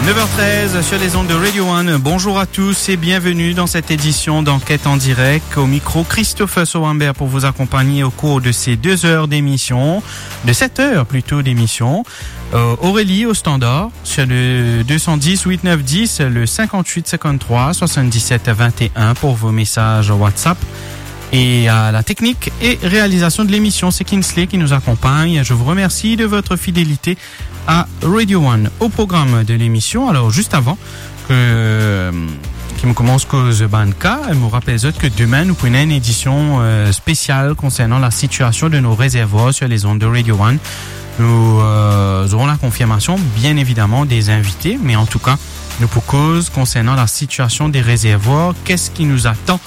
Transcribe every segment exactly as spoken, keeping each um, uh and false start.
Neuf heures treize sur les ondes de Radio One. Bonjour à tous et bienvenue dans cette édition d'Enquête en direct. Au micro, Christopher Sowamber pour vous accompagner au cours de ces deux heures d'émission, de sept heures plutôt d'émission. Euh, Aurélie au standard sur le deux cent dix huit neuf dix, le cinquante-huit cinquante-trois soixante-dix-sept vingt et un pour vos messages WhatsApp. Et à la technique et réalisation de l'émission, c'est Kinsley qui nous accompagne. Je vous remercie de votre fidélité à Radio One. Au programme de l'émission, alors juste avant que, ki mo koumans koz bann ka, mo rapel zot ke demin nou pou ena enn edision, euh, spesial konsernan la sitiasion de nos réservoirs sur les ondes de Radio One. Nous, euh, aurons la confirmation, bien évidemment, des invités, mais en tout cas, nou pou koz konsernan la sitiasion des réservoirs, qu'est-ce qui nous attend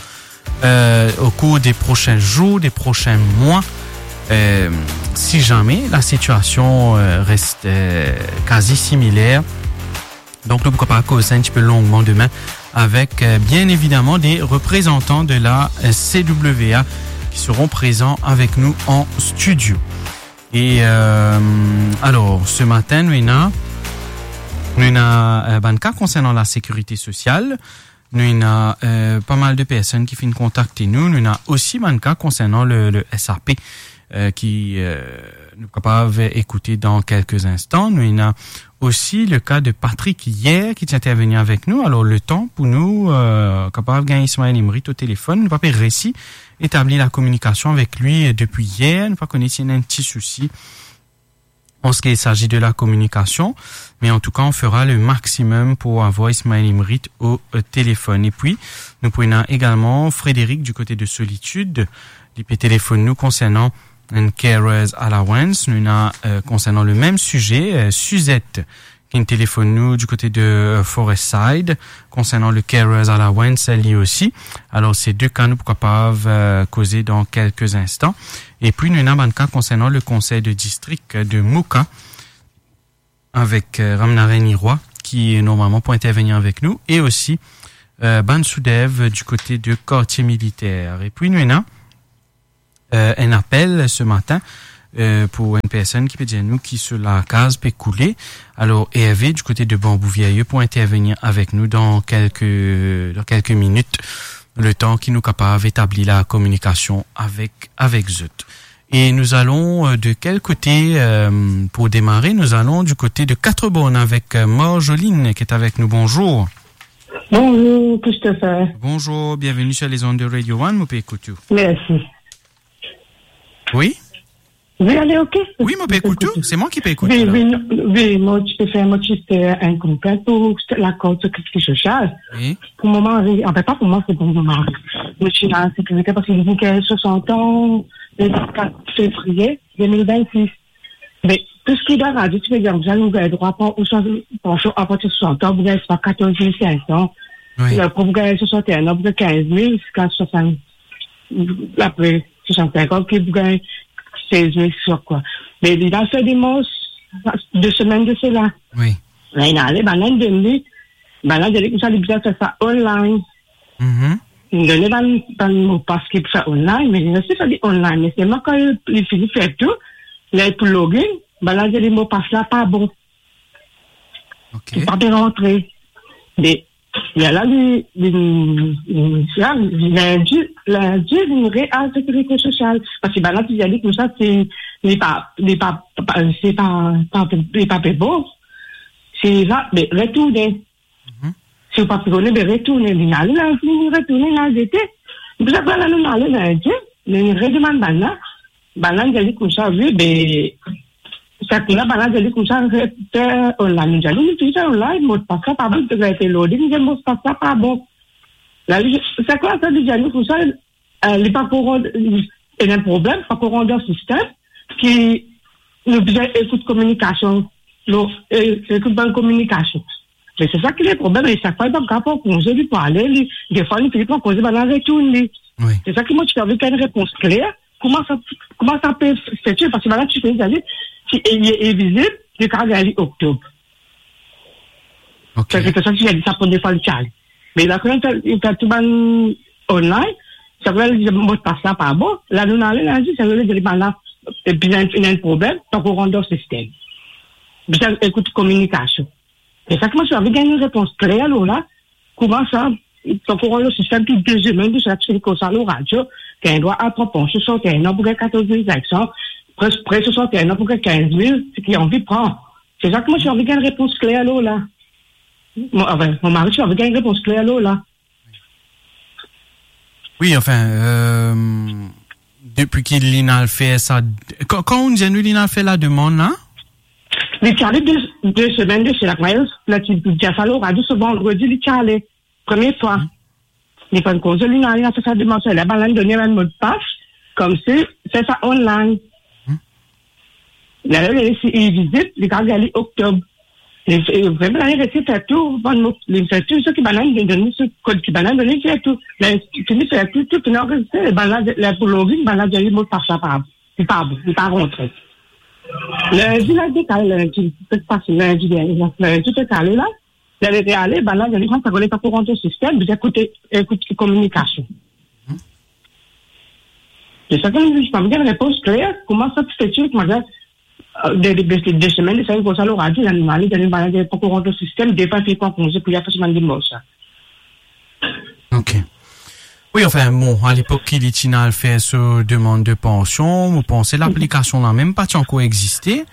euh, au cours des prochains jours, des prochains mois, euh, si jamais la situation, euh, reste, euh, quasi similaire. Donc, nou pou kapav koz sa un petit peu longuement demain avec, euh, bien évidemment des représentants de la, euh, C W A qui seront présents avec nous en studio. Et, euh, alors, ce matin, nou ena, nou ena, euh, bann ka konsernan la sécurité sociale. Nou ena, euh, pa mal de personn ki finn kontakte nou. Nou ena osi bann ka konsernan le, le S A P, euh, ki, euh, nou kapav ekoute dan kelke instan. Nou ena osi le ka de Patrick yer ki ti interveni avek nou. Alor, letan pou nou, euh, kapav gagn Ismaël Imrit o telefonn, nou pa pe resi etabli la kominikasion avek li, euh, depi yer. Nou pa kone si ena enn ti sousi en ce qui s'agit de la communication, mais en tout cas, on fera le maximum pour avoir Ismaël Imrit au, euh, téléphone. Et puis, nou pou ena également Frédéric du côté de Solitude. Li pe telefonn nou konsernan enn carers allowance. Nou ena, euh, konsernan le mem size, euh, Suzette, ki finn telefonn nou du côté de, euh, Forest Side, konsernan le carers allowance, li osi. Alor, se de ka nou pou kapav, euh, koze dan kelke instan. Epi, nou ena bann ka konsernan le konsey de distrik de Moka, avek, euh, Ramnarine Iroy, ki normalman pou intervenir avek nou, e osi, euh, bann Soudev du côté de Quartier Militaire. Epi, nou ena euh, enn apel ce matin, euh, pou enn personn ki pe dir nou ki so lakaz pe koule. Alor, Hervé, du côté de Bambou Vieilleux, pou intervenir avek nou dan kelke, dan kelke minit, letan ki nou kapav etabli la kominikasion avek, avek zot. Et nous allons, euh, de quel côté, euh, pour démarrer ? Nous allons du côté de Quatre-Bornes avec, euh, Marjoline qui est avec nous. Bonjour. Bonjour, Christopher. Bonjour, bienvenue sur les ondes de Radio One, mo pe ekout ou. Mersi. Wi? Wi, ale, ok. Wi, mo pe ekout ou. Se mwa ki pe ekout ou la. Wi, wi, non, wi, mo ti pe fer, mo ti fer enn konplent pou lakor sekirite sosial. Wi. Pou mo mari, anfin, pa pou mwa, se pou mo mari. Mo ti dan sekirite parski li gagn swasant an, le kat fevriye de mil vennsis. Me tou seki dan radio, ti pe dir, nou gagn drwa pran ou swa pansion apartir swasant an, pou gagn swa katorz mil senk san. Wi. Apre, pou gagn swasant-e-enn an, pou gagn kinz mil, ziska swasant, apre swasant-sink an, ki pou gagn sez mil, sa kwa. Me li la fer demars, de semenn de sela. Wi. La, li ale, bann la inn donn li, bann la dir li koumsa li bizin fer sa online. Mhm. Li donn li bann, bann mopas ki pou fer online, me li reste fer li online. Me selman kan li, li fini fer tou, li pou login, bann la dir li mopas la pa bon. Ok. Li pa pe rantre. Me, me la, li, li, li, la, lindi, lindi, li re al sekirite sosial. Parski bann la ti dir li koumsa, si li pa, li pa, pa, si pa, pa, li pa pe bon, si li va, be, retourne. Mhm. Si ou pa pe kone, be, retourne. Li ale lindi, li retourne, li al zete. Pou sa, la, nou ale lindi, li redemann bann la. Bann la dir li koumsa, wi, be, sa ki la, bann la dir li koumsa, re-, fer online. Nou dir li, nou touzour fer online, mopas la pa bon, li pe gagn loading, li dir mopas la pa bon. La, li, sa ki la, sa li dir nou koumsa, euh, li pa kouran, li ena problem, pa kouran dan sistem, ki nou bizin ekout kominikasion, nou, e, ekout bann kominikasion. Me se sa ki le problem, e sak fwa li pa kapav pran konze, li pou ale, li, defwa li fini pran konze, bann la retourn li. Wi. Se sa ki mo ti anvi gagn repons kler, kouma sa, kouma sa pe fete, parski bann la ti pe dir li, si li, li vizib, li kapav gagn li oktob. Ok. Sa, se pou sa ki dir li sa premie fwa li ti ale. Me la, kan li fer, li fer tou bann online, sa vle dir mopas la pa bon, la nou ale lindi, sa vle dir bann la, e bizin, ena enn problem, pa kouran dan sistem. Bizin ekout kominikasion. E sa ki mo ti anvi gagn enn repons kler lor la, kouma sa, tankou dan sistem tou de semenn, de semenn, ki koz sa lor radio, ki ena drwa a pran pansion swasant-enn an pou gagn katorz mil zinq san, pre, pre swasant-enn an pou gagn kinz mil, seki anvi pran. Se sa ki mo ti anvi gagn repons kler lor la. Mo, anfin, mo mari ti anvi gagn repons kler lor la. Wi, anfin, euh, depi ki li'nn al fer sa, kan, kan ou dir nou li'nn al fer lademann la? Li ti ale de, de semenn de sela, Miles, la ti, ti dir sa lor radio, se vandredi li ti ale, premie fwa. Li pran konze, li, li al fer sa demann la, bann la donn li enn modpas, koumsi, fer sa online. Lerla li resi, li vizit, li kapav gagn li oktob. Li, li, li resi fer tou, bann mo, li fer tou seki bann la donn li, so kod ki bann la donn li, fer tou. Li fini fer tou, tou fini anrezistre, bann la, la pou login, bann la dir li modpas la pa, li pa bon, li pa rantre. Lindi la dekale, lindi, se pase lindi dernie, lindi dekale la. Li ale, li ale, bann la dir li, sa, sa koumans pa pou rant dan sistem, bizin ekout, ekout kominikasion. Se sa ki mo dir, pa gagn repons kler, kouma sa ti fer, kouma sa, euh, de, de, de, de semenn, de semenn koumsa lor radio, li al, li al, li pa pou rant dan sistem, depi li pran konze pou li al fer so bann demars la. Ok. Wi, anfin, bon, alepok ki li ti al fer so demann de pansion, mo panse laplikasion la mem pa ti ankor existe.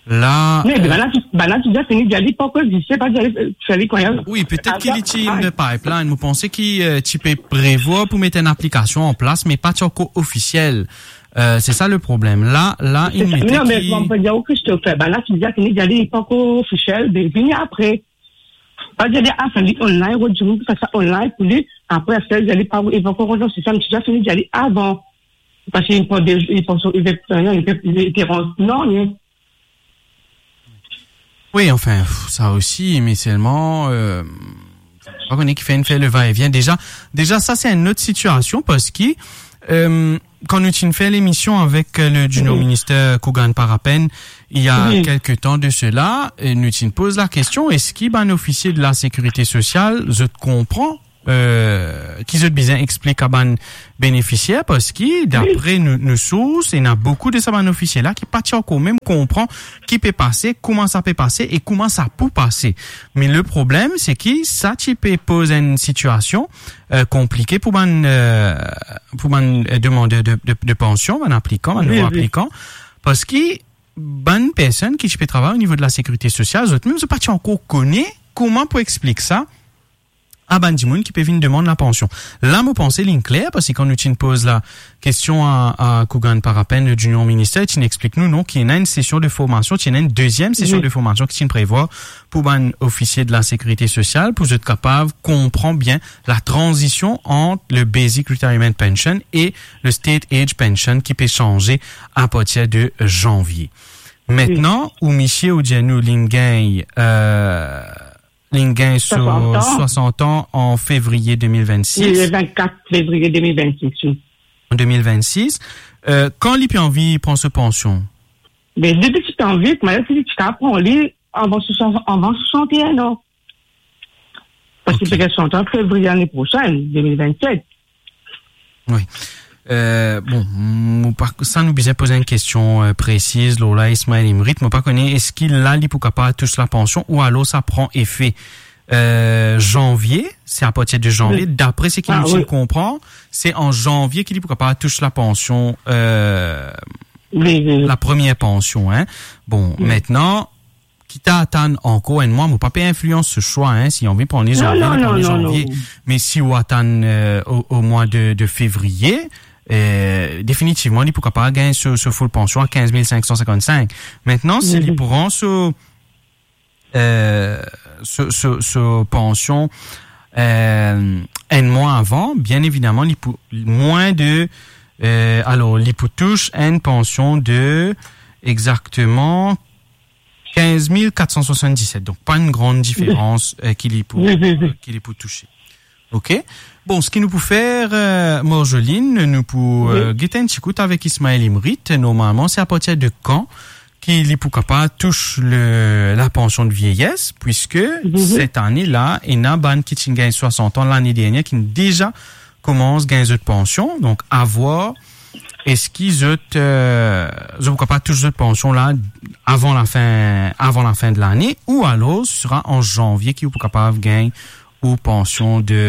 La, me, euh, bann la ti, bann la ti dir fini dir li pa ankor existe, pa dir li, euh, fer li koumsa. Wi, petet ki li ti in the pipeline. Mo panse ki, euh, ti pe prevwar pou met enn aplikasion an plas, me pa ti ankor ofisiel. Euh, se sa le problem. La, la, se sa, me, me, mo pe dir ou, Christopher, bann la ti dir fini dir li pa ankor ofisiel, be, vini apre. Pa dir li, a, fer li online, rod dimoun pou fer sa online pou li, apre, fer li, li pa, li pa ankor rant dan sistem, ti dir fini dir li avan. Parski li pran de, li pran so, li pe, li pe, li pe rant, non, li Wi, anfin, pff, sa osi, me selman, euh, pa kone kifer inn fer le va-et-vient. Deza, deza, sa, se enn lot sitiasion, parski, euh, kan nou ti inn fer lemision avek, euh, le Junior Minister Kougan Parapen, il y a quelque temps de cela, euh, nou ti inn poz lakestion, eski bann ofisie de la Sécurité Sociale, zot konpran euh, ki zot bizin explik a bann benefisier, parski, dapre nou, nou sours, ena boukou de sa bann ofisie la ki pa ti ankor mem konpran ki pe pase, kouma sa pe pase e kouma sa pou pase. Me le problem, se ki sa ti pe poz enn sitiasion, euh, konplike pou bann, euh, pou bann, euh, demann de, de, de pansion, bann aplikan, bann nouvo aplikan, parski bann personn ki ti pe travay o nivo de la Sécurité Sociale, zot mem, zot pa ti ankor kone kouma pou explik sa a bann dimoun ki pe vinn demann lapansion. La, mo panse linn kler, parski kan nou ti inn poz lakestion a, a Kougan Parapen, le Junior Minister, ti inn explik nou, non, ki ena enn sesion de formasion, ti ena enn deziem sesion de formasion ki ti inn prevwar pou bann ofisie de la Sécurité Sociale, pou zot kapav konpran bien latranzision ant le Basic Retirement Pension e le State Age Pension ki pe sanze apartir de zanvie. Mintnan, ou misie ou dir nou linn gagn, euh, linn gagn so swasant an. Swasant an an fevriye de mil vennsis. Le vennkat fevriye de mil vennsis, wi. An de mil vennsis. Euh, kan li pe anvi pran so pansion? Be, depi ti anvi, kouma li ti kapav pran li avan swasant, avan swasant-e-enn an. Parski li pe gagn swasant an fevriye lane prosenn, de mil vennset. Wi. Euh, bon, mo pa, sa nou bizin poz enn kestion, euh, presiz lor la, Ismaël Imrit. Mo pa kone, eski la li pou kapav tous lapansion ou alor sa pran efe, euh, zanvie, se apartir de zanvie, dapre seki nou ti konpran, se an zanvie ki li pou kapav tous lapansion, euh, lapremier pansion, hein. Bon, mintnan, ki ta atann ankor enn mwa, mo pa pe inflians so swa, hein, si anvi pran li zanvie, li pran li zanvie. Me si ou atann, euh, o, o mwa de, de fevriye, euh, definitivman, li pou kapav gagn so, so full pansion a kinz mil sink san sinkant-sink. Mintnan, si li pran so, euh, so, so, so pansion, euh, enn mwa avan, bien evidaman, li pou, mwin de, euh, alor, li pou tous enn pansion de, exakteman, kinz mil kat san swasanndiset. Donk, pa enn gran diferans, euh, ki li pou, euh, ki li pou touse. Ok? Bon, seki nou pou fer, euh, Marjoline, nou pou, euh, get enn ti kout avek Ismaël Imrit. Normalman, se apartir de kan ki li pou kapav tous le, lapansion de vieyes, puiske set ane la, ena bann ki ti gagn swasant an lane dernie, ki deza koumans gagn zot pansion. Donk, a vwar eski zot, euh, zot pou kapav tous zot pansion la avan lafin, avan lafin de lane, ou alor sera an zanvie ki ou pou kapav gagn ou pansion de,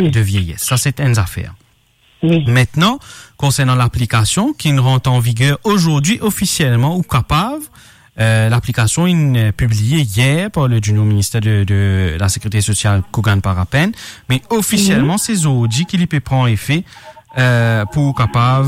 wi, de vieyes. Sa, se enn zafer. Wi. Maintenant, konsernan laplikasion ki rant an viger azordi ofisielman, ou kapav, euh, laplikasion inn, euh, pibliye yer par le, du nom ministère de, de la Sécurité sociale, Kougane Parapen, me ofisielman, wi, se zordi ki li pe pran efe, euh, pou ou kapav,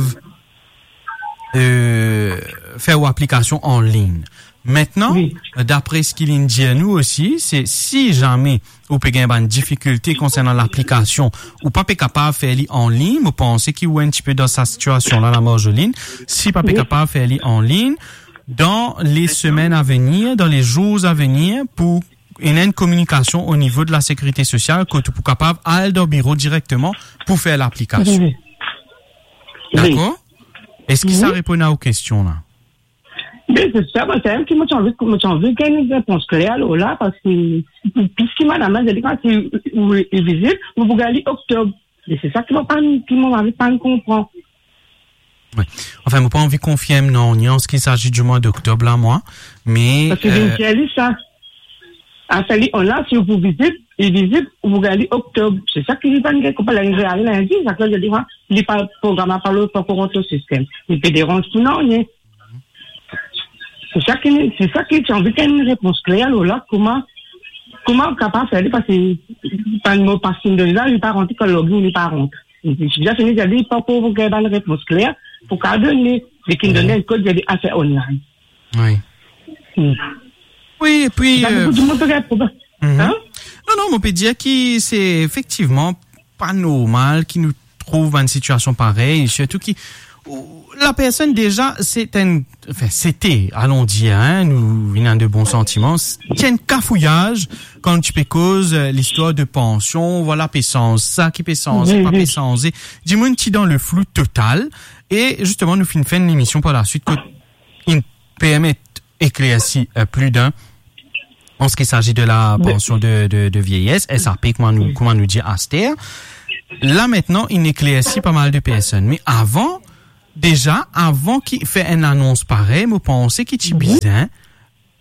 euh, fer ou aplikasion an lign. Maintenant, wi, dapre seki linn dir nou osi, se si zame ou pe gagn bann difikilte konsernan laplikasion, ou pa pe kapav fer li an lign, mo panse ki ou enn tipe dan sa sitiasion la, la Marjoline, si pa pe, wi, kapav fer li an lign, dan le semenn a venir, dan le zour a venir, pou ena enn kominikasion o nivo de la Sécurité sociale, kot ou pou kapav al dan biro direkteman pou fer laplikasion. Wi, wi. Dakor? Wi. Eski sa, wi, reponn a ou kestion la? Me se sa, mwa, se ki mo ti anvi, mo ti anvi gagn enn repons kler lor la, parski plis ki madam la, dir li, kan si ou, ou vizit, ou pou gagn li oktob. Me se sa ki mo pa, ki mo anvi pa konpran. Wi. Anfin, mo pa anvi konfirm non, ni an se ki sazi di mwa d'oktob la, mwa, me, parski, euh, vinn dir li sa. A, sa li, on la, si ou pou vizit, li vizit, ou pou gagn li oktob. Se sa ki li pa gagn konpran, la, li al lindi, sa ki li dir, li pa, program la pa, pa ankor rant o sistem. Li pe deranz pou nanye. Se sa ki, se sa ki ti anvi gagn enn repons kler lor la, kouma, kouma ou kapav fer li, parski bann mo pa finn donn la, li pa rant, kan login, li pa rant. Li ti bizin fini, li pa pou gagn bann repons kler pou kapav donn li, li finn donn enn kod, li afer online. Wi. Hmm. Wi, epi, sa, euh, boukou dimoun pe gagn problem. Mhm. Hein? Non, non, mo pe dir ki se efektivman pa normal ki nou trouv bann sitiasion parey, sirtou ki, ou, la personn deza, se enn, anfin, sete, alon dir, hein, nou vinn a de bon santiman, s-, ti enn kafouyaz, kan ti pe koz, euh, listwar de pansion, vwala, pe sanze, sa ki pe sanze, wi, pa, wi, pe sanze. Dimoun ti dan le flou total, e zisteman, nou finn fer enn lemision par laswit, kot inn permet eklersi, euh, pli de, an se ki sazi de la, wi, pansion de, de, de vieyes, S A P, kouma nou, wi, kouma nou dir aster. La, aster, inn eklersi pa mal de personn. Me avan, deza, avan ki fer enn anons parey, mo panse ki ti, wi, bizin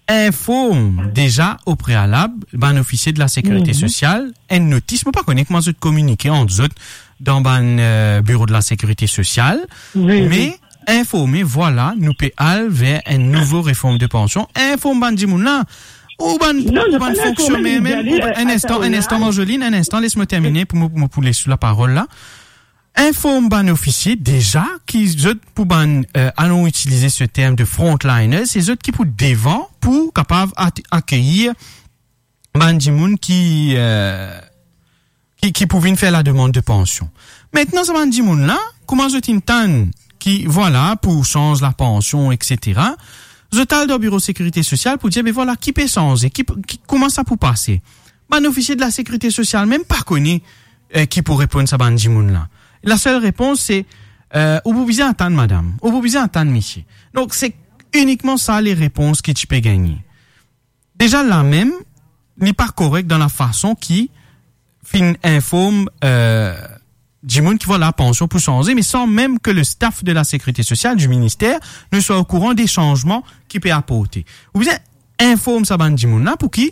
inform deza o prealab bann ofisie de la Sécurité, mhm, sociale, enn notis, mo pa kone kouma zot kominike ant zot dan bann, euh, biro de la Sécurité sociale, wi, wi, me informe, vwala, nou pe al ver enn nouvo reform de pansion. Inform bann dimoun la. Ou bann, non, ou bann fonksioner mem, ou bann, euh, enn instan, enn instan, Marjoline, enn instan, les mo termine pou mo, pou mo pou les ou laparol la. Inform bann ofisie deza ki zot pou bann, euh, alon itilize se term de frontliners, se zot ki pou devan pou kapav at-, akeyir bann dimoun ki, euh, ki, ki pou vinn fer lademann de pansion. Aster, sa bann dimoun la, kouma zot inn tann ki, vwala, pou sanz lapansion, et cetera, zot al dan biro Sécurité sociale pou dir, be vwala, ki pe sanze, ki, ki, kouma sa pou pase. Bann ofisie de la Sécurité sociale mem pa kone, euh, ki pou reponn sa bann dimoun la. Lasel repons se, euh, ou pou bizin atann madam, ou pou bizin atann misie. Donk, se inikman sa le repons ki ti pe gagne. Deza la mem, li pa korek dan lafason ki finn inform, euh, dimoun ki, vwala, pansion pou sanze, me san mem ke le staff de la Sécurité sociale, du ministère, nou swa okouran de sanzman ki pe aporte. Ou bizin inform sa bann dimoun la pou ki,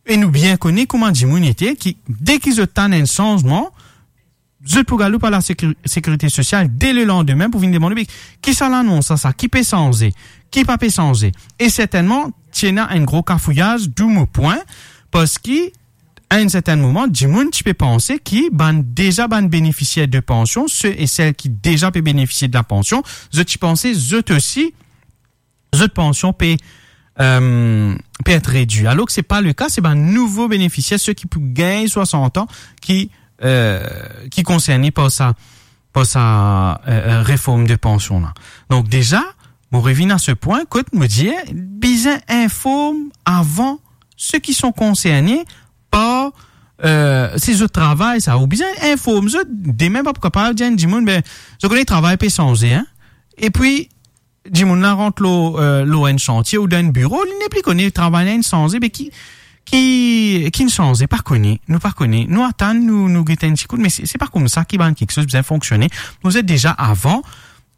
e nou bien kone kouma dimoun ete, ki de ki zot tann enn sanzman, zot pou galoup a la sécu-, Sécurité sociale de le landime pou vinn demann, be, ki sa lanons sa, sa, ki pe sanze, ki pa pe sanze. E sertennman, ti ena enn gro kafouyaz, dou mo pwin, parski, a enn sertenn moman, dimoun ti pe panse ki bann, deza bann benefisier de pansion, se e sel ki deza pe benefisie de la pansion, zot ti panse zot osi, zot pansion pe, euh, pe et redwi. Alor ki se pa le ka, se bann nouvo benefisier, se ki pou gagn swasant an, ki, euh, ki konserne par sa, par sa, euh, euh, reform de pansion la. Donk deza, mo revinn a se pwin kot mo dir, bizin inform avan se ki son konserne par, euh, se zot travay sa, ou bizin inform zot, demin pa pou kapav dir enn dimoun, be, zot kone travay pe sanze, hein? Epi, dimoun la rant lor, euh, lor enn santie ou dan enn biro, li nepli kone travay la inn sanze, be ki, ki, ki inn sanze, pa kone, nou pa kone. Nou atann, nou, nou get enn ti kout, me se, se pa koumsa ki bann kiksoz bizin fonksione. Nou zet deza avan,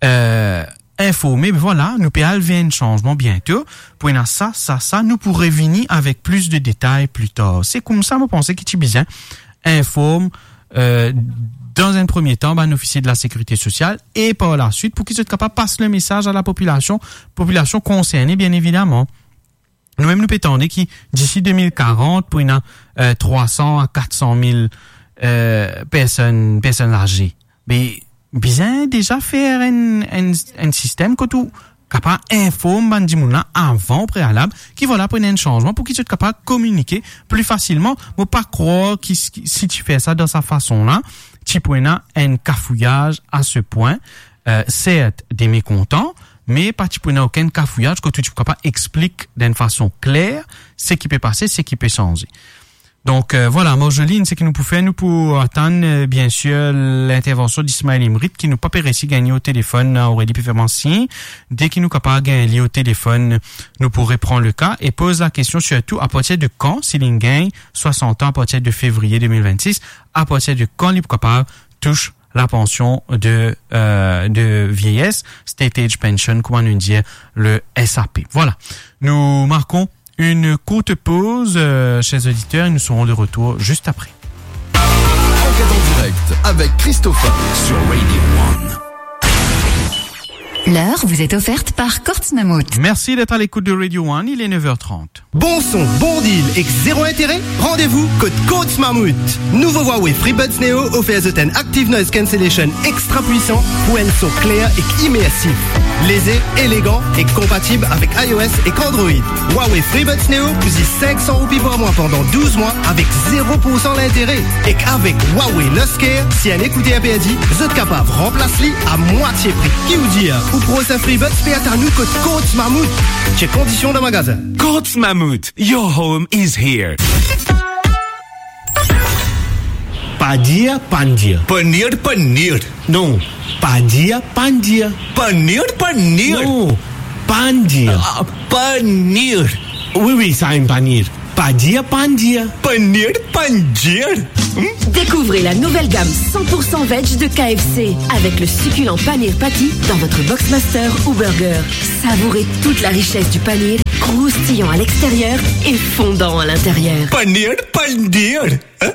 eh, informe, be vwala, nou pe al ver enn sanzman biento, pou ena sa, sa, sa, nou pou revini avek plis de detay pli tar. Se koumsa, mo panse ki ti bizin inform, eh, dan enn premie tan, bann ofisie de la sekirite sosial, e par laswit, pou ki zot kapav pas le mesaz a la popilasion, popilasion konserne, bien evidaman. Nou mem nou pe tande ki disi de mil karant, pou ena, eh, trwa san a kat san mil, eh, personn, personn aze. Me bizin deza fer enn, enn, enn sistem kot ou kapav inform bann dimoun la avan, prealab, ki vwala, pou ena enn sanzman, pou ki zot kapav kominike pli fasilman. Mo pa krwar ki, ki, si ti fer sa dan sa fason la, ti pou ena enn kafouyaz a se pwin, eh, sert, de mekontan, me pa ti pou ena okenn kafouyaz kot ou ti pou kapav explik dan enn fason kler seki pe pase, seki pe sanze. Donk, eh, vwala, Marjoline, seki nou pou fer, nou pou atann, eh, biensir, lintervansion Ismaël Imrit, ki nou pa pe resi gagne o telefonn, eh, Aurélie pe fer mwa sign. Deki nou kapav gagn li o telefonn, nou pou repran le ka e poz la kestion sirtou, apartir de kan, si li gagn swasant an, apartir de fevriye de mil vennsis, apartir de kan li pou kapav tous la pansion de, eh, de vieyes, State Age Pension, kouma nou dir, le S A P. Vwala. Nou markon une courte pause, eh, chers auditeurs, et nous serons de retour juste après. Enquête en direct avec Christopher sur Radio One. L'heure vous est offerte par Courts Mammouth. Merci d'être à l'écoute de Radio One, il est neuf heures trente. Bon son, bon deal ek zero intere? Randevou kot Courts Mammouth. Nouvo Huawei FreeBuds Neo ofer zot enn Active Noise Cancellation extra pwisan pou enn son kler ek imersif. Leze, elegan ek konpatib avek iOS ek Android. Huawei FreeBuds Neo pou zis sink san roupi par mwa pandan douz mwa avek zero poursan lintere. Ek avek Huawei Luxcare, si enn ekouter perdi, zot kapav ranplas li a mwatie pri. Ki ou dir, ou prosin FreeBuds pe atann ou kot Courts Mammouth. Chek kondision dan magazin. Courts Mammouth, your home is here. Pa dir, pann dir. Panir, panir. Non, pa dir, pann dir. Panir, panir. Non, pann dir. Ah, panir. Oui, oui, sa enn panir. Pa dir, pann dir. Panir, pann dir. Hmm? Découvrez la nouvelle gamme cent pour cent veg de K F C avec le succulent paneer patty dans votre Boxmaster ou Burger. Savourez toute la richesse du paneer, croustillant à l'extérieur et fondant à l'intérieur. Panir, pann dir. Hein?